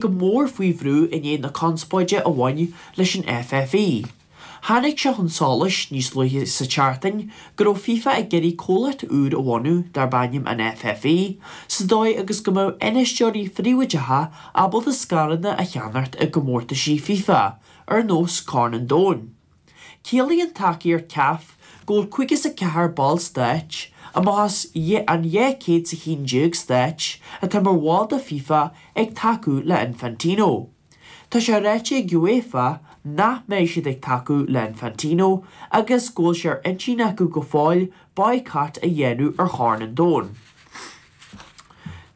Go mór faoi bhrú i ndiaidh na conspóide a bhain leis an FFI. Tháinig sé chun solais níos luaithe sa tseachtain go raibh FIFA ag iarraidh comhlacht úr a bhunú darb ainm an FFI sa dóigh agus go mbeadh infheisteoirí phríobháideacha ábalta scaireanna a cheannacht i gcomórtaisí FIFA ar nós Corn an Domhain. Ciallaíonn tacaíocht CAF go bhfuil 54 ball stáit, amach as an 211 stáit atá mar bhall de FIFA ag tacú le Infantino. Tá sé ráite ag UEFA nach mbeidh siad ag tacú le Infantino agus go bhfuil sé ar intinn acu go fóill boycott a dhéanamh ar Chorn an Domhain.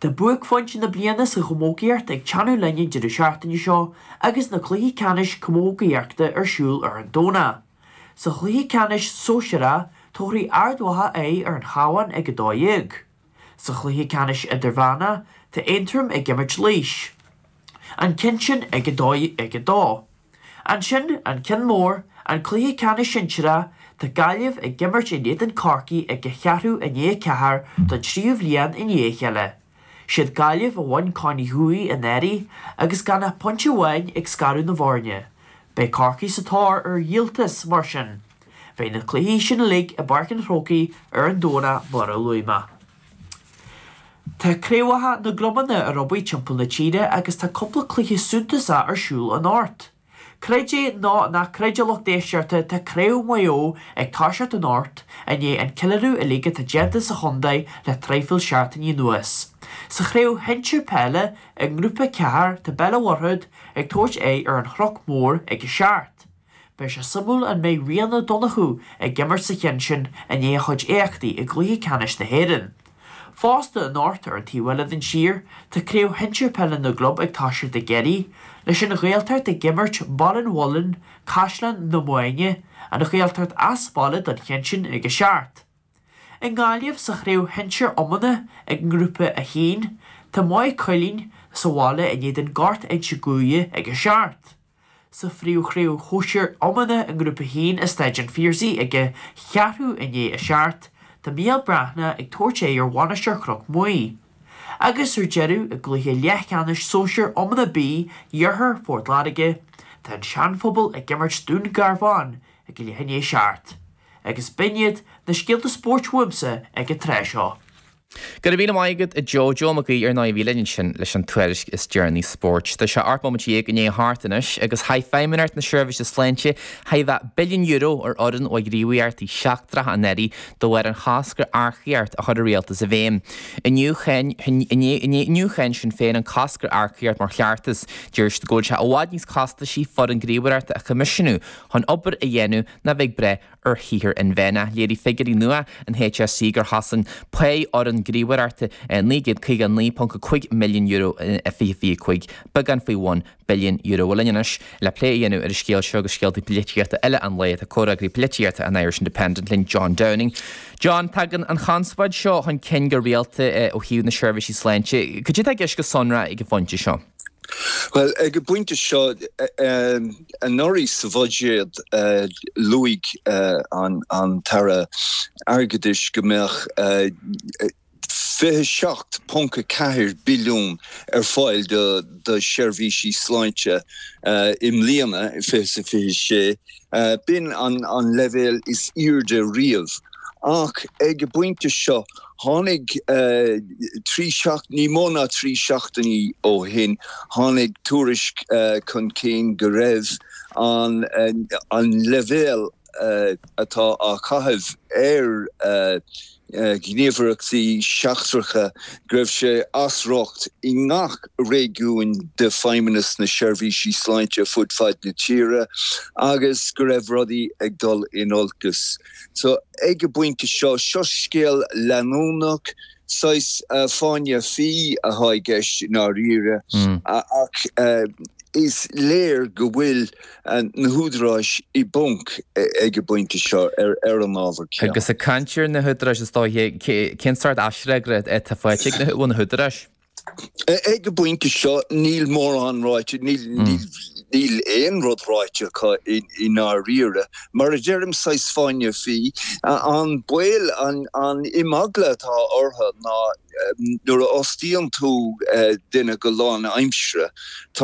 Tá buaicphointe na bliana sa chamógaíocht ag teannadh linn an deireadh seachtaine seo agus na cluichí ceannais camógaíochta ar siúl ar an Domhnach. Sa chluiche ceannais sóisearach, tabharfaidh Ard Mhacha aghaidh ar an Chabhán ag 12. Sa chluiche ceannais idirmheánach, tá Aontroim ag imirt Laois. An ceann sin ag 2. Ansin, an ceann mór, an cluiche ceannais sinsearach, tá Gaillimh ag imirt in éadan Corcaí ag a cheathrú i ndiaidh a 4 don tríú bhliain i ndiaidh a chéile. Siad Gaillimh a bhain Corn Uí Thuathaigh anuraidh agus gan ach pointe amháin ag scaradh na bhfoirne. Beidh Corcaigh sa tóir ar dhíoltas, mar sin. Beidh na cluichí sin uilig i bPáirc an Chrócaigh ar an Domhnach mar a luaigh mé. Tá craobhacha na gclubanna ar obair timpeall na tíre agus tá cúpla cluiche suntasach ar siúl anocht. Creid é nó ná creid a lucht éisteachta tá Craobh Mhaigh Eo ag toiseacht anocht i ndiaidh an ceiliúradh uilig atá déanta sa chontae le traidhfil seachtainí anuas. Sa chraobh shinsir peile i nGrúpa 4 tá Béal an Mhuirthead ag tabhairt aghaidh ar an Chnoc Mór ag 7. Beidh sé suimiúil an mbeidh Rian Ó Donnchú ag imirt sa cheann sin i ndiaidh a chuid éachtaí i gcluiche ceannais na hÉireann. Fosta anocht ar an taobh eile den tír, tá Craobh Shinsir Peile na gClub ag toiseacht i gCiarraí, leis an Ghaeltacht ag imirt Baile an Mhuilinn, Caisleán na Maighne, an Ghaeltacht as baile don cheann sin ag 7. I nGaillimh sa Chraobh Shinsir Iomána ag nGrúpa 1, tá Maigh Cuilinn sa bhaile in éadan Gort Inse Guaire ag 7. Sa phríomhchraobh shóisir iomána i nGrúpa 1 i Staid an Phiarsaigh ag a cheathrú i ndiaidh a 7, tá Mícheál Breathnach ag tabhairt aghaidh ar Mhainistir Chnoc Muaidhe. Agus ar deireadh, i gcluiche leathcheannais sóisir iomána B Iarthar Phort Láirge, tá an Seanphobal ag imirt Dún Garbhán ag a leath i ndiaidh a 7. Agus b'in iad na scéalta spóirt uaimse ag an tráth seo. Go raibh míle maith agat a Joe. Joe Mac Aoidh ar ndóigh a bhí linn ansin leis an tuairisc is deireanaí spóirt. Tá sé 18 bomaite i ndiaidh a hocht anois agus chaith Feidhmeannacht na Seirbhíse Sláinte chóir a bheith billiún euro ar fhoireann ó ghníomhaireachtaí seachtracha anuraidh de bharr an chosc ar earcaíocht a chuir an rialtas i bhfeidhm. Inniu cháin inniu cháin Sinn Féin an cosc ar earcaíocht mar chleachtas. Deir siad go bhfuil sé i bhfad níos costaisí foireann gníomhaireachta a choimisiúnú chun obair a dhéanamh ná bheith ag brath ar shaothar inmheánach. Léirigh figiúirí nua an HSE gur chosain pá fhoireann gníomhaireachta €959.5 milliún in 2025, beagán faoi bhun billiún euro. Bhuel, linn anois le plé a dhéanamh ar an scéal seo agus scéalta polaitíochta eile an lae tá comhfhreagraí polaitíochta an Irish Independent linn, John Downing. John, tagann an chonspóid seo chun cinn go rialta ó thaobh na seirbhísí sláinte. Cad é atá i gceist go sonrach ag an phointe seo? Bhuel, ag an bpointe seo, anuraidh sa bhuiséad, luaigh an tAire Airgeadais go mbeadh 27.4 billiún ar fáil do sheirbhísí sláinte i mbliana, 2026. B'in an leibhéal is airde riamh. Ach ag an bpointe seo, Tháinig trí seacht, ní mó ná trí seachtainí ó shin, tháinig tuairisc chun cinn go raibh an an leibhéal atá á chaitheamh ar ghníomhaireachtaí seachtracha, go raibh sé as riocht i ngach réigiún de Feidhmeannas na Seirbhísí Sláinte fud fad na tíre agus go raibh rudaí ag dul in olcas. So, ag an bpointe seo, seo scéal leanúnach, saghas fáinne fí atá i gceist i ndáiríre, ach is léir go bhfuil na húdaráis i bponc ag an bpointe seo ar an ábhar céanna. Agus ag caint ar na húdaráis, is dóiche, cén sórt aisfhreagra atá faighte ag na, ó na húdaráis? Ag an bpointe seo níl mórán ráite, níl aon rud ráite acu i ndáiríre. Mar a deirim, saghas fáinne fí. An baol, an imeagla atá orthu ná nuair a fhostaíonn tú duine go lánaimseartha, tá.